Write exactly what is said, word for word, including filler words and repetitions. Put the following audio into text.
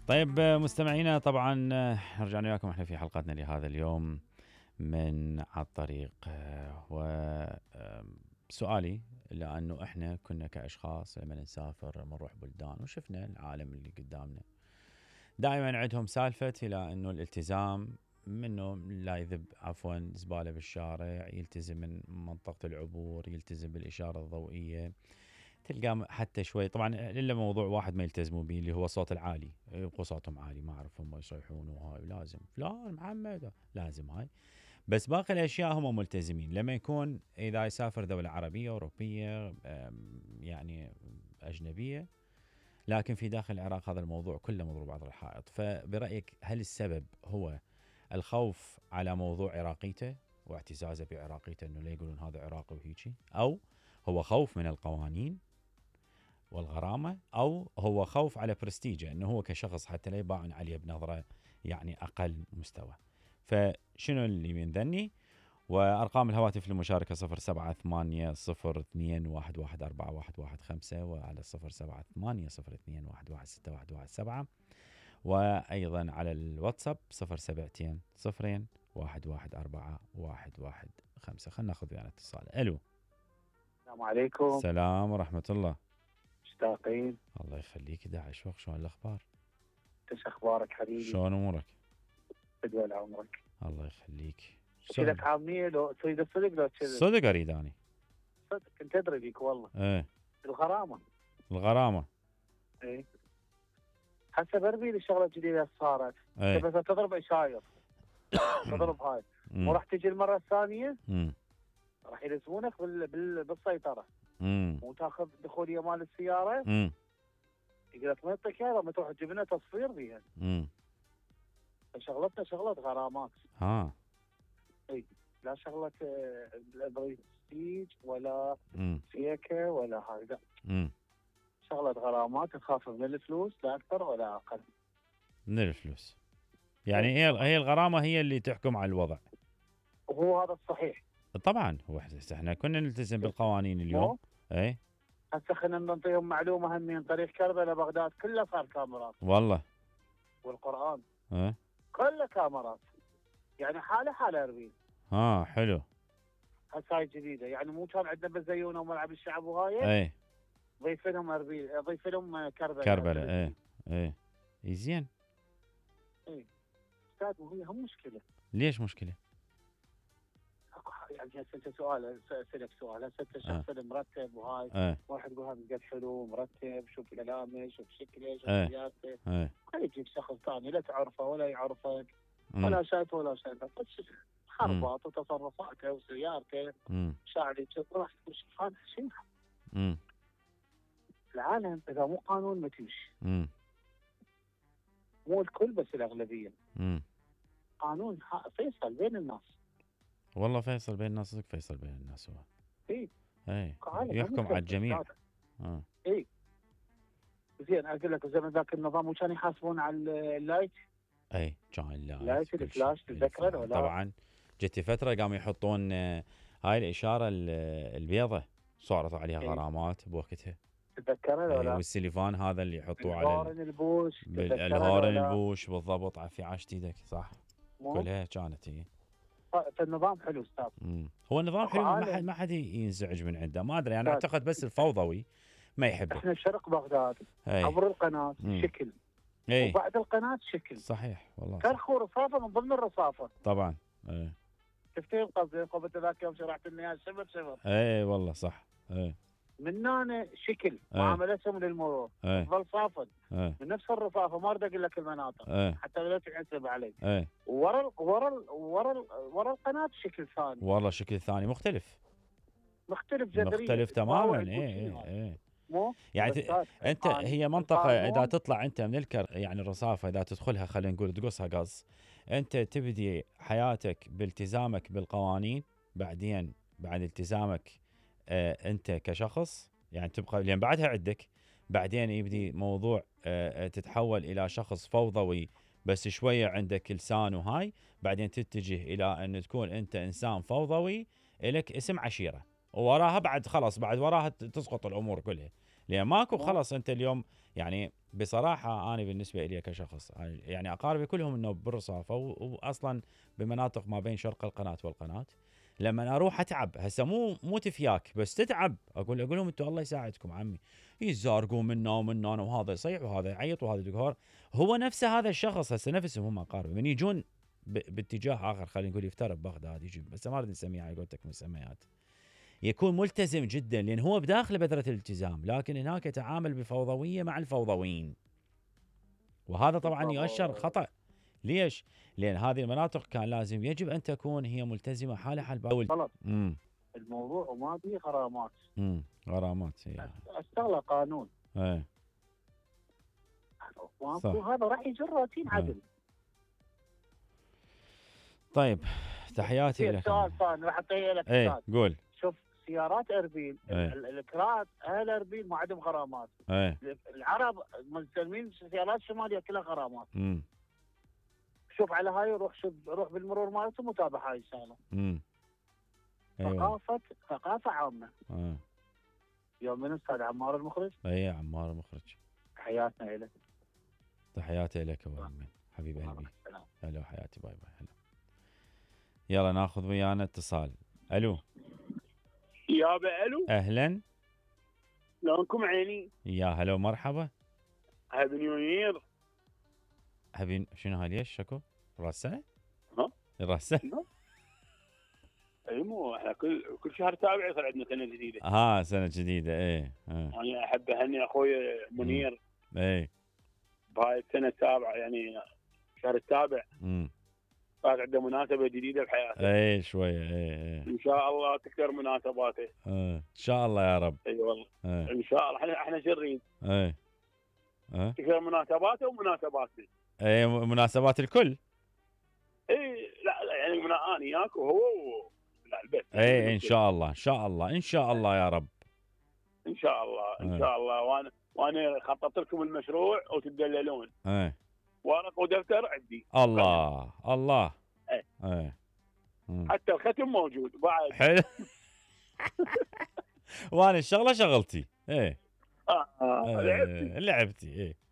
طيب مستمعينا، طبعا رجعنا لكم احنا في حلقتنا لهذا اليوم من على الطريق. وسؤالي لأنه احنا كنا كأشخاص لما نسافر نروح بلدان وشفنا العالم اللي قدامنا، دائما عندهم سالفة إلى أنه الالتزام، منه لا يذب عفوا زبالة بالشارع، يلتزم من منطقة العبور، يلتزم بالإشارة الضوئية، تلقى حتى شوي طبعا الا موضوع واحد ما يلتزموا به اللي هو الصوت العالي، يبقوا صوتهم عالي ما اعرف هم يصيحون وهاي لازم فلان محمد لازم هاي، بس باقي الاشياء هم ملتزمين. لما يكون اذا يسافر دولة عربية اوروبية يعني اجنبية، لكن في داخل العراق هذا الموضوع كله مضروب عض الحائط. فبرأيك هل السبب هو الخوف على موضوع عراقيته واعتزازه بعراقيته، انه لا يقولون هذا عراقي وهيجي، او هو خوف من القوانين والغرامة، أو هو خوف على برستيجه أنه هو كشخص حتى لا يباعن عليه بنظرة يعني أقل مستوى؟ فشنو اللي من ذني؟ وأرقام الهواتف للمشاركة صفر سبعة ثمانية صفر اثنين واحد واحد أربعة واحد واحد خمسة، وعلى صفر سبعة ثمانية صفر اثنين واحد واحد ستة واحد واحد سبعة، وأيضا على الواتساب صفر سبعتين صفرين واحد واحد أربعة واحد واحد خمسة. خلنا ناخذ ويانا اتصال. ألو، السلام عليكم. السلام ورحمة الله. مشتاقين. الله يخليك داعش وخ، شلون الاخبار؟ ايش اخبارك حبيبي؟ شلون امورك؟ بدول عمرك. الله يخليك. كذا عاميه لو تريد الصدق لو كذا؟ صدق اريد اني. صدق كنت ادري بيك والله. ايه الغرامه. الغرامه. ايه هسه بربيل الشغله الجديده صارت. ايه بس تضرب اشاير. تضرب هاي وراح تجي المره الثانيه امم راح يلزمونك بال... بال... بالسيطره. امم وتاخذ دخوليه مال السياره. امم يقول لك ما يعطيك اياها لما تروح تجيب لنا تصفير بيها. امم شغلتنا شغله غرامات. ها اي لا شغله برستيج ولا امم فيكه ولا هاي لا. امم شغله غرامات تخاف من الفلوس لا اكثر ولا اقل. من الفلوس يعني هي هي الغرامه هي اللي تحكم على الوضع. وهو هذا الصحيح. طبعا هو احنا كنا نلتزم بالقوانين اليوم. اي هسه خلينا نعطيهم معلومه هم من طريق كربلاء بغداد كله صار كاميرات. والله والقران ايه كله كاميرات، يعني حاله حاله اربيل. ها حلو. هسه هاي جديده، يعني مو كان عندنا بالزيونه وملعب الشعب وهاي. اي ضيف لهم اربيل، ضيف لهم كربلاء. كربلاء ايه ايه زين. اي استاذ وهي هم مشكله. ليش مشكله؟ يعني هسه انت سؤال اسالك سؤال، هسه انت شخص أه. مرتب وهاي أه. واحد يقول هذا قد حلو مرتب، شوف كلامه شوف شكله شوف أه. سياسته. أه. خلي يجيب شخص ثاني لا تعرفه ولا يعرفك ولا شايفه ولا شايفه، بس حربات وتصرفاته وسيارته شعري راح تشوف هذا شيء. العالم اذا مو قانون ما تمشي. مو الكل بس الاغلبيه. امم قانون فيصل بين الناس. والله فيصل بين الناس، صدق فيصل بين الناس هو. اي اي يحكم على الجميع. اه اي زين اقول لك زمان ذاك النظام وكان يحاسبون على اللايت. اي كان اللايت لايت الفلاش تتذكر ولا؟ طبعا جت فتره قاموا يحطون هاي الاشاره البيضة صارت عليها إيه؟ غرامات بوقتها تتذكرها ولا؟ والسليفان هذا اللي يحطوه على الهورن البوش. الهورن البوش بالضبط. في عاشت ايدك صح. مو؟ كلها كانت هي. فالنظام حلو استاذ. هو النظام حلو، ما حد ما حد ينزعج من عنده، ما ادري انا اعتقد بس الفوضوي ما يحبه. احنا شرق بغداد عبر القناه مم. شكل اي وبعد القناه شكل صحيح والله. كرخ ورصافه من ضمن الرصافه طبعا. اي تفتهم قصدي قبل ذاك يوم شرحت لنا اياها شبر شبر. اي والله صح. اي من هنا شكل معاملتهم للمرور تظل صافن من نفس الرصافه، ما اريد اقول لك المناطق أي. حتى لا تحسب علي. اي ورا ورا ورا ورا القناه شكل ثاني. والله شكل ثاني مختلف مختلف جذريا مختلف تماما. اي اي اي مو يعني انت هي منطقه اذا تطلع انت من الكر يعني الرصافه اذا تدخلها خلينا نقول تقصها قص، انت تبدي حياتك بالتزامك بالقوانين، بعدين بعد التزامك آه انت كشخص يعني تبقى لين بعدها عندك، بعدين يبدي موضوع آه تتحول الى شخص فوضوي بس شويه عندك لسان وهاي، بعدين تتجه الى ان تكون انت انسان فوضوي لك اسم عشيره، ووراها بعد خلاص بعد وراها تسقط الامور كلها. لان ماكو خلص انت اليوم يعني بصراحه انا بالنسبه لي كشخص يعني اقاربي كلهم انه بالرصافه واصلا بمناطق ما بين شرق القناه والقناه. لما اروح اتعب هسه مو مو تفياك بس تتعب اقول اقول لهم انتم الله يساعدكم عمي يزارقوا منا ومنا وهذا يصيح وهذا يعيط وهذا يقهر. هو نفسه هذا الشخص هسه نفسهم هم اقاربي من يجون باتجاه اخر خلينا نقول يفترض بغداد يجي بس ما اريد نسميه على قولتك مسميات يكون ملتزم جدا لان هو بداخل بذره الالتزام لكن هناك يتعامل بفوضويه مع الفوضويين. وهذا طبعا يؤشر خطا. ليش؟ لان هذه المناطق كان لازم يجب ان تكون هي ملتزمه حالها حال باقي. غلط. الموضوع وما فيه غرامات. امم غرامات هي اشتغل قانون. ايه هذا راح يجر روتين عدل. طيب تحياتي لك. سؤال ثاني راح اعطيه لك. ايه قول. شوف سيارات اربيل ايه. الكرات اهل اربيل ما عندهم غرامات. ايه. العرب ملتزمين السيارات الشماليه كلها غرامات. امم شوف على هاي روح شوف روح بالمرور مالتهم وتابع هاي الشغله. امم ثقافه ثقافه عامه. اه يوم من استاذ عمار المخرج. اي عمار المخرج. تحياتنا لك. تحياتي لك ابو امين حبيب قلبي. هلا حياتي باي باي. هلا يلا ناخذ ويانا اتصال. الو يابا. الو اهلا. شلونكم عيني؟ يا هلا ومرحبا. هابي نيو يير. هابي شنو هاي ليش شكو؟ راس سنه؟ ها؟ راس سنه؟ اي مو احنا كل كل شهر سابع يصير عندنا سنه جديده. ها سنه جديده ايه. اه. انا احب اهني اخوي منير. ايه. بهاي السنه السابعه يعني الشهر السابع. امم صار عنده مناسبه جديده بحياته. ايه شويه ايه ايه. ان شاء الله تكثر مناسباته. اه ان شاء الله يا رب. اي أيوة والله. ايه. ان شاء الله احنا احنا شو نريد؟ ايه. اه تكثر مناسباته ومناسباتنا. ايه مناسبات الكل. اي لا لا يعني من انا وياك وهو لا البيت. ايه ان شاء الله ان شاء الله ان شاء الله يا رب. ان شاء الله ان شاء الله. وانا وانا خططت لكم المشروع وتدللون. ايه. ورق ودفتر عندي. الله الله. ايه. ايه. حتى الختم موجود بعد. حلو. وانا الشغله شغلتي. ايه. اه, آه. لعبتي لعبتي ايه.